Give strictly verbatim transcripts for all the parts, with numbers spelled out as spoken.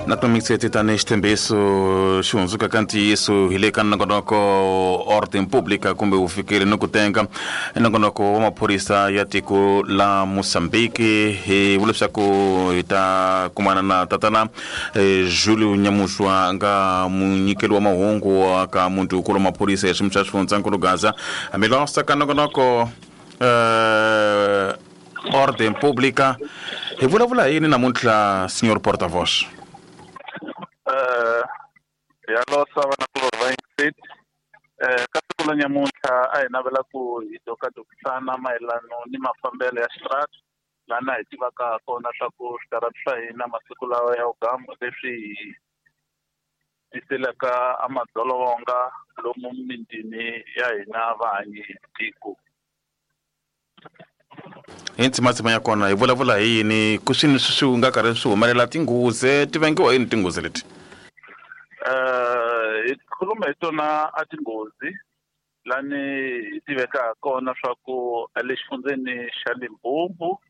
Na tomixeti tanihi xitshembiso xi hundzuka ka ntiyiso hi le ka nongonoko Ordem Pública kumbe vufikeli ni ku tenga, nongonoko wa maphorisa ya tiko la Mozambique. Hi vula leswaku hi ta kumana na tatana eh, Julio Nyamushwa nga munyikeli wa mahungu wa ka muti-nkulu wa maphorisa ya xiyimo xa xifundzankulu Gaza. Hambilosa ka nongonoko eh, Ordem Pública, hi vulavula hi yini namuntlha, Senhor Porta-Voz? Eh, ya losa vanakulorhi va Ingrid. Eh, ka siku la nyamuntlha a hi navela ku hi dokadokisana mayelano ni mafambelo ya xitarata, lana hi tivaka kona swa ku switarata swa hina masiku lawa ya vugamu leswi hi tiselaka a madzolonga lomu mitini ya hina vahanyi tiko. Hi ntsimatsima ya kona hi vulavula hi yini? Ku swini swi swi nga karhi swi humelela tinghozi, ti vangiwa yini tinghozi leti? Eh, hi khuluma hi tona a tinghozi lani hi tiveka kona swa ku le xifundzeni xa Limpopo,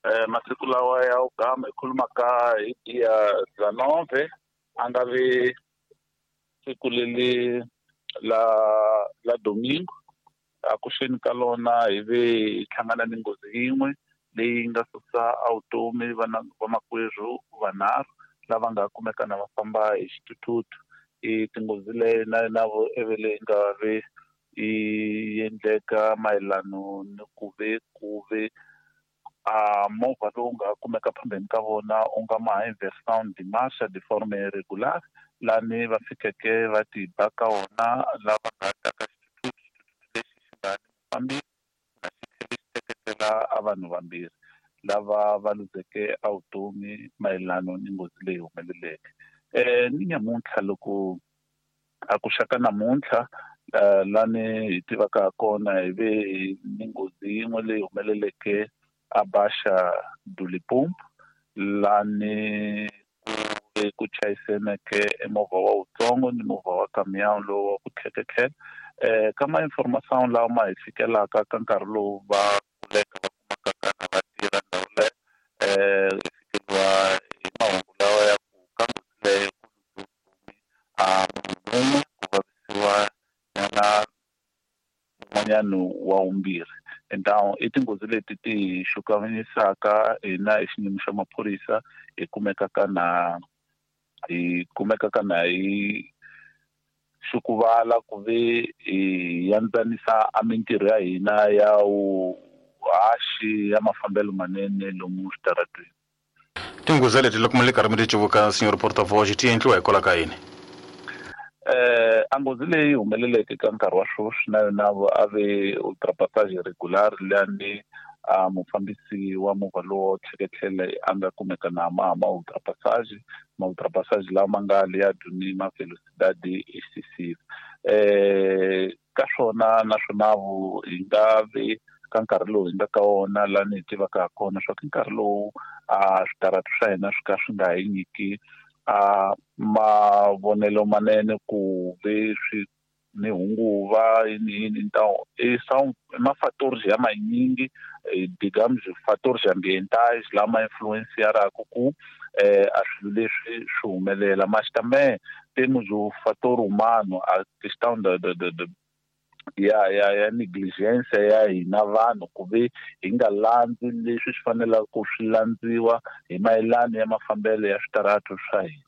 eh, masiku lawa ya ugama hi khulumaka hi dia dezanove, a nga vi siku leli la la domingo. A kuxeni ka lona hi ve hi hlangana ni nghozi yin'we leyi nga susa a vutomi vana vamakwerhu vanharhu lava nga kumeka na va famba hi xithuthuthu. I tinghozi leyi na na vo ivi leyi nga ve yi endleka mayelano ni ku ve ku ve a movha lowu nga kumeka phambeni ka vona u nga ma inversão de marcha de forma irregular, lani va fikeke va ti ba ka wona lava nga ta ka xithuthuthu, xithuthuthu lexi xi nga ni mufambisi na xi tlhele xi teketela a vanhu vambirhi lava va luzeke a vutomi mayelano ni nghozi leyi humeleleke. Eh, ni nyamuntlha loko a ku xaka namuntlha, eh, lani hi tivaka ha kona hi ve ni nghozi yin'we leyi humeleleke a Baixa do Limpopo, lani ku ve ku chayiseneke e movha wa wutsongo ni movha wa camion lowu wa ku tlheketlhela. Eh, ka ma information lawa ma hi fikelaka ka nkarhi lowu va kuleka va kumaka kana va tirha ndhawu leyo, eh, hi fikeriwa hi mahungu lawa ya ku ka nghozi leyo ku luze vutomi a munhu wun'we, ku vavisiwa nyana un'wanyana wa vumbirhi. Então i tinghozi leti ti hi xukanyisaka hina hi xiyimo xa maphorisa, hi kumekaka na hi kumekaka na hi xukuvala ku ve hi yandzanisa a mintirho ya hina ya vuhaxi ya mafambelo manene lomu switarateni. Tinghozi leti loko mi le karhi mi ti cuvuka, Senhor Porta-Voz, ti endliwa hikwalaho ka yini? Eh, a nghozi leyi humeleleke ka nkarhi wa sweswi na yona a ve ultrapassage regular, lani a mufambisi wa movha lowo tlheketlhela a nga kumeka na ma ma ultrapassage, ma ultrapassage lawa ma nga le ya duni ma velocidade excessive. Eh, ka swona naswona vu hi nga vi ka nkarhi lowu hi nga ka wona lani hi tivaka ha kona swa ku nkarhi lowu a switarata swa hina swi ka swi nga hi nyiki a mavonelo manene ku ve swi ni hunguva yini yini. Então i são ma fatores ya manyingi, digamos fatores ambientais lama influenciaraka ku eh, a swilo leswi swi humelela. Mas também temos o fator humano, a questão da, da, da, da ya ya ya negligência ya hina vanhu ku ve hi nga landzi leswi swi fanelaka ku swi landziwa hi mayelano ya mafambelo ya switarata swa hina.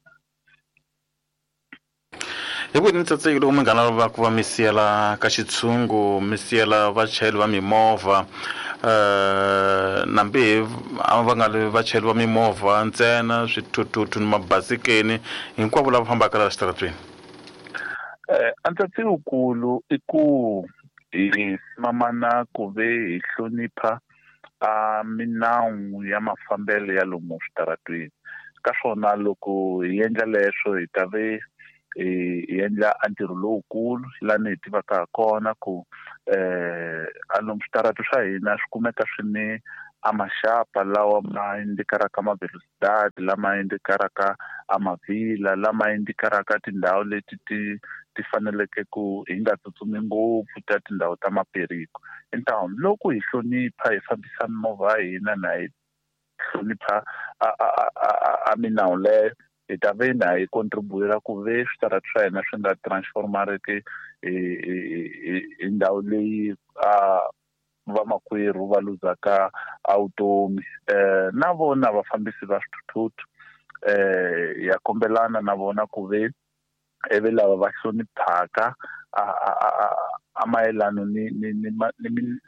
Hi ku ni tsatseki loko munghana va ku va mi siyela ka xitshungu, mi siyela vachayeri va mimovha, eh, nambi a va nga ri vachayeri va mimovha ntsena, swithuthuthu ni mabasikeni, hinkwavo lava fambaka laha xitaratweni? Eh, a ntsatsi wukulu i ku hi simamana ku ve hi hlonipha a minawu ya mafambelo ya lomu switaratweni. Ka swona loko hi endla leswo hi ta ve hi endla a ntirho lowukulu lani hi tivaka ha kona ku, eh, a lomu switarata swa hina swi kumeka swi ni a maxapa lawa ma indikaraka ma velocidade, lama indikaraka a mavhila, lama indikaraka tindhawu leti ti ti faneleke ku hi nga tsutsumi ngopfu ta tindhawu ta maperiko. Então loko hi hlonipha hi fambisa mimovha ya hina na hi hlonipha a, a, a, a, a minawu leyo, hi ta ve na hi contributa ku ve switarati swa hina swi nga transformariki hi hi ndhawu leyi a vamakwerhu va luzaka a vutomi. Eh na vona vafambisi va swithuthuthu eh ya kombelana na vona ku ve eve lava va hloniphaka a a a mayelano ni ni ni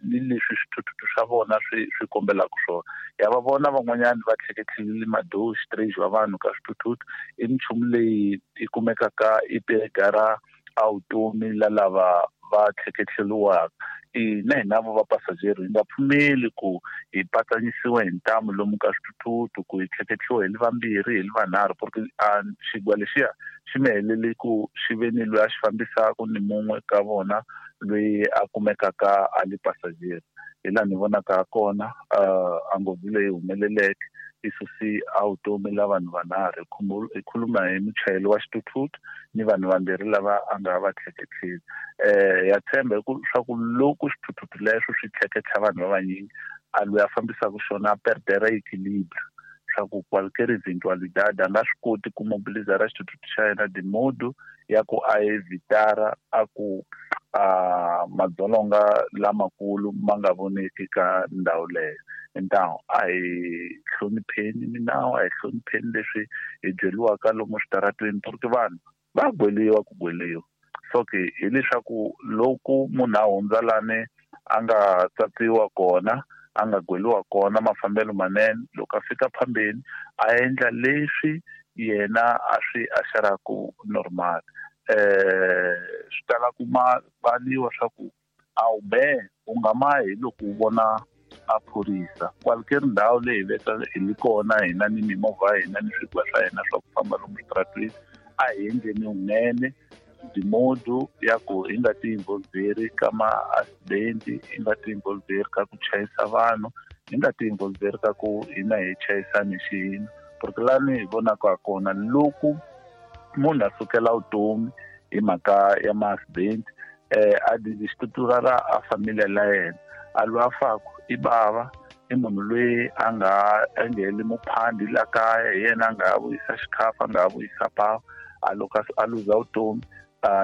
ni leswi swithuthuthu swa vona swi swi kombelaka swona. Ya va vona van'wanyana va tlheketlhelile madoho xitirexi wa vanhu ka swithuthuthu i minchumu leyi yi kumekaka i pegara a vutomi la lava va tlheketlheliwaka. I na hina vo vapasajeri hi nga pfumeli ku hi patsanyisiwa hi ntamu lomu ka swithuthuthu ku hi tlheketlhiwa hi li vambirhi hi li vanharhu porque a xigwa lexiya xi mi heleli ku xi ve ni loyi a xi fambisaka ni mun'we ka vona loyi a kumekaka a li pasajeri. Hi laha ni vonaka kona a nghozi leyi humeleleke i susi a vutomi la vanhu vanharhu. Hi khuluma hi muchayeri wa xithuthuthu ni vanhu vambirhi lava a nga va tlheketlheli. Eh ya tshemba hi ku swa ku loko xithuthuthu lexo swi tlheketlha vanhu va vanyingi a loyi a fambisaka xona a perdera equilibre swa ku qualquer eventualidade a nga swi koti ku mobilizara xithuthuthu xa yena de modo ya ku a evitara a ku a madzolonga lamakulu ma nga voneki ka ndhawu leyo. Então a hi hlonipheni minawu, a hi hlonipheni leswi hi byeriwaka lomu switaratweni porque vanhu va gweliwa ku gweliwa. So ke hileswaku loko munhu a hundza lani a nga tsatsiwa kona a nga gweliwa kona mafambelo manene, loko a fika phambeni a endla leswi yena a swi axaraku normal. Eh swi tala ku ma valiwa swa ku a wu be u nga ma hi loko u vona a phorisa. Qualquer ndhawu leyi veka hi li kona hina ni mimovha ya hina ni swigwa swa hina swa ku famba lomu switaratweni a hi endleni vunene de modo ya ku hi nga ti involveri ka ma-accident, hi nga ti involveri ka ku chayisa vanhu, hi nga ti involveri ka ku hina hi chayisani hi xihina. Porque lani hi vonaka kona loko munhu a sukela vutomi hi mhaka ya ma-accident eh a dizistruturara a familia la yena a loyi a faku i bava i munhu loyi a nga engheli muphandi la kaya hi yena a nga ha vuyisa xikhafa a nga ha vuyisa pawa a loko a luza vutomi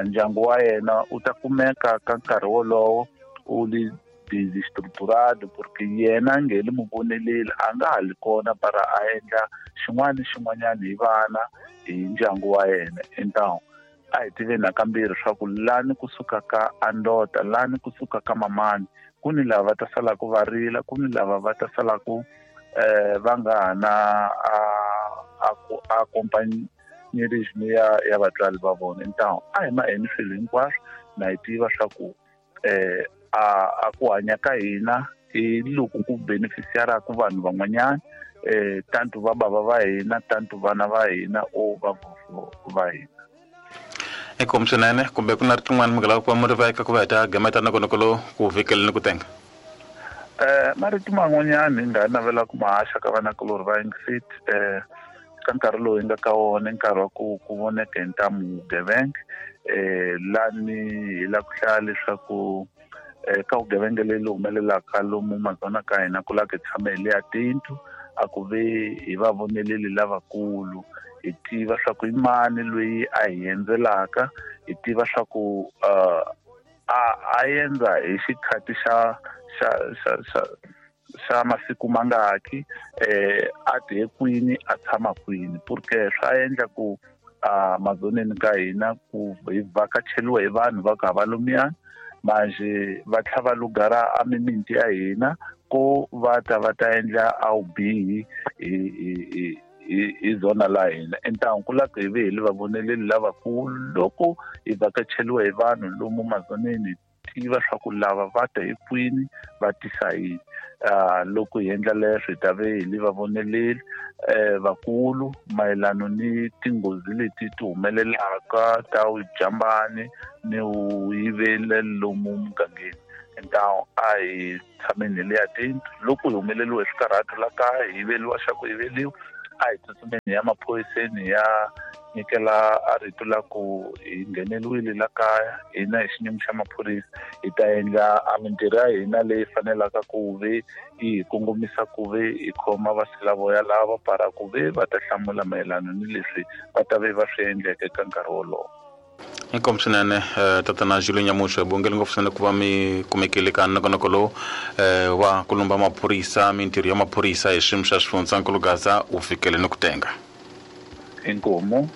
ndyangu wa yena u ta kumeka ka nkarhi wolowo u li desestruturado porque yena a nge li muvoneleli a nga ha li kona para a endla xin'wana ni xin'wanyana hi vana hi ndyangu wa yena. Então a hi tiveni nakambirhi swa ku lani kusuka ka andota lani kusuka ka mamani ku ni lava va ta salaka va rila, ku ni lava va ta salaka eh va nga ha na a a accompagnerism ya ya vatswari va vona. Então a hi maheni swilo hinkwaswo na hi tiva swa ku eh a a ku hanya ka hina hi loko ku beneficiaraka vanhu van'wanyana eh tanto va bava va hina tanto vana va hina o va va hina. Inkomu swinene kumbe ku na rin'wana mi nga lava ku va mi ri veka ku va hi ta gameta nongonoko lowu ku vhikele ni ku tenga. Eh marito man'wanyana hi nga navela ku ma haxa ka vanakulorhi va Ingsit eh ka nkarhi lowu hi nga ka wona nkarhi wa ku ku voneka hi ntamu vugevenga eh lani hi lava ku hlaya leswaku eh ka vugevenga leyi humelelaka lomu mazona ka hina ku lava ku tshama hi le ya tindlu a ku ve hi va voneleli lavakulu hi tiva swa ku i mani loyi a hi endzelaka hi tiva swa ku a a endza hi xikhathi xa xa xa xa xa masiku mangaki eh a ti kwini a tshama kwini porque swa endla ku a mazoneni ka hina ku hi vhakacheliwa hi vanhu va ka va lomiya manje va tlhava lugara a mimiti ya hina ko va ta va ta endla a vubihi hi hi hi zona la hina. Então ku lava hi ve hi li vavoneleli lavakulu loko hi vhakacheliwa hi vanhu lomu mazoneni tiva swa ku lava va ta hi kwini va tisa yini. Loko hi endla leswo hi ta ve hi li vavoneleli eh vakulu mayelano ni tinghozi leti ti humelelaka ta vujambani ni vuyivele lomu mugangeni. Então a hi tshameni hi le ya tindlu loko hi humeleliwe hi swikarhato la kaya hi yiveliwa xa ku yiveliwa a hi tsutsumeni ya maphoriseni ya nyikela a rito la ku hi ngheneliwile la kaya hina hi xinyimi xa maphorisa hi ta endla a mintirho ya hina leyi fanelaka ku ve yi hi kongomisa ku ve hi khoma vasilavoya lava para ku ve va ta hlamula mayelana ni leswi va ta ve va swi endleke ka nkarhi wolowo. Inkomu swinene tatana Julio Nyamuhlo, hi bongele ngopfu swinene ku va mi kumekile ka nongonoko lowu wa ku lumba maphorisa, mintirho ya maphorisa hi xiyimo xa xifundzankulu Gaza wu fikele ni ku tenga. Inkomu.